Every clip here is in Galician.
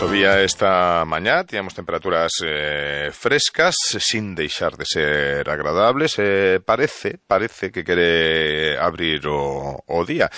Chovía esta mañá, tiñamos temperaturas frescas, sin deixar de ser agradables. Parece que quere abrir o día.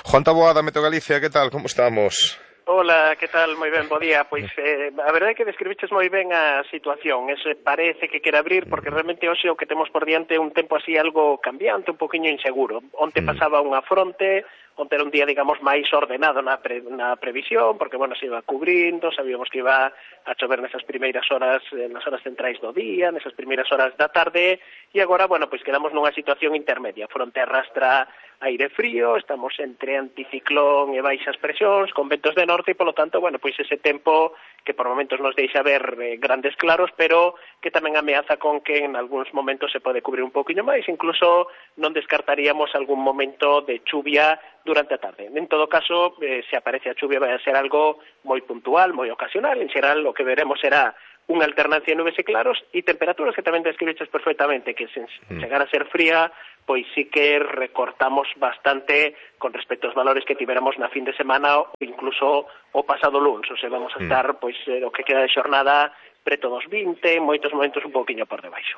Juan Taboada, Meteo Galicia, que tal? Como estamos? Hola, que tal? Moi ben, bo día. Pois a verdade é que describiches moi ben a situación. Parece que quere abrir porque realmente hoxe o que temos por diante é un tempo así algo cambiante, un poquinho inseguro. Onte pasaba unha fronte, onte era un día, digamos, máis ordenado na previsión, porque, bueno, se iba cubrindo, sabíamos que iba a chover nesas primeiras horas, nas horas centrais do día, nesas primeiras horas da tarde, e agora, bueno, pois quedamos nunha situación intermedia. A fronte arrastra aire frío, estamos entre anticiclón e baixas presións, con ventos de norte, e, polo tanto, bueno, pois ese tempo que por momentos nos deixa ver grandes claros, pero que tamén ameaza con que en algúns momentos se pode cubrir un poquinho máis, incluso non descartaríamos algún momento de chuvia durante a tarde. En todo caso, se aparece a chuvia vai a ser algo moi puntual, moi ocasional. En xeral, o que veremos será unha alternancia de nubes e claros e temperaturas que tamén describiches perfectamente, que sen chegar a ser fría, pois sí que recortamos bastante con respecto aos valores que tiveramos na fin de semana ou incluso o pasado lunes. O sea, vamos a estar, pois, o que queda de xornada preto dos 20, en moitos momentos un pouquiño por debaixo.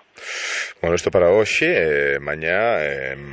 Bueno, isto para hoxe, mañá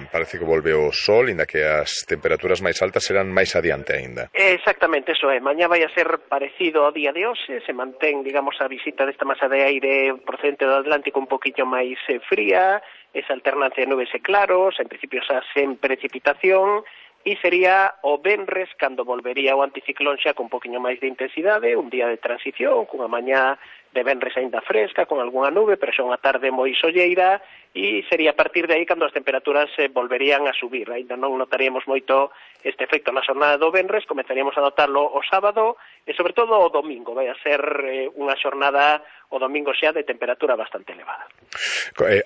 parece que volve o sol, inda que as temperaturas máis altas serán máis adiante aínda. Exactamente, eso é. Mañá vai a ser parecido ao día de hoxe, se mantén, digamos, a visita desta masa de aire procedente do Atlántico un poquinho máis fría, esa alternancia de nubes e claros, en principio xa sen precipitación, e sería o venres cando volvería o anticiclón xa con un poquinho máis de intensidade, un día de transición, cunha mañá de venres aínda fresca, con algunha nube, pero xa unha tarde moi solleira, e sería a partir de aí cando as temperaturas volverían a subir. Aínda non notaríamos moito este efecto na xornada do venres, comenzaríamos a notarlo o sábado e sobre todo o domingo. Vai a ser unha xornada o domingo xa de temperatura bastante elevada.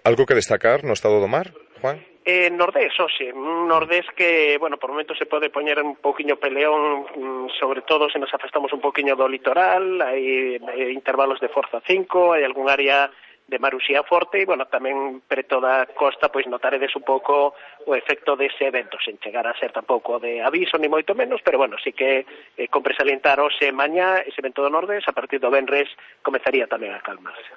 Algo que destacar no estado do mar, Juan? Nordés, hoxe, un Nordés que, bueno, por momentos se pode poñer un poquinho peleón, sobre todo se nos afastamos un poquinho do litoral, hai intervalos de forza 5, hai algún área de maruxía forte e, bueno, tamén preto da costa, pois notaredes un pouco o efecto dese evento, sen chegar a ser tampouco de aviso, ni moito menos, pero, bueno, sí que compre salientar hoxe mañá ese evento do Nordés, a partir do venres comezaría tamén a calmarse.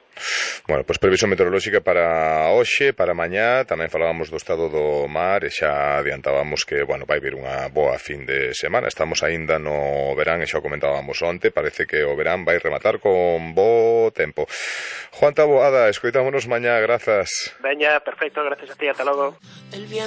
Bueno, pois previsión meteorolóxica para hoxe, para mañá, tamén falábamos do estado do mar e xa adiantábamos que, bueno, vai vir unha boa fin de semana. Estamos aínda no verán e xa o comentábamos onte, parece que o verán vai rematar con bo tempo. Juan Taboada, escoitámonos mañá, grazas. Veña, perfecto, gracias a ti, ata logo.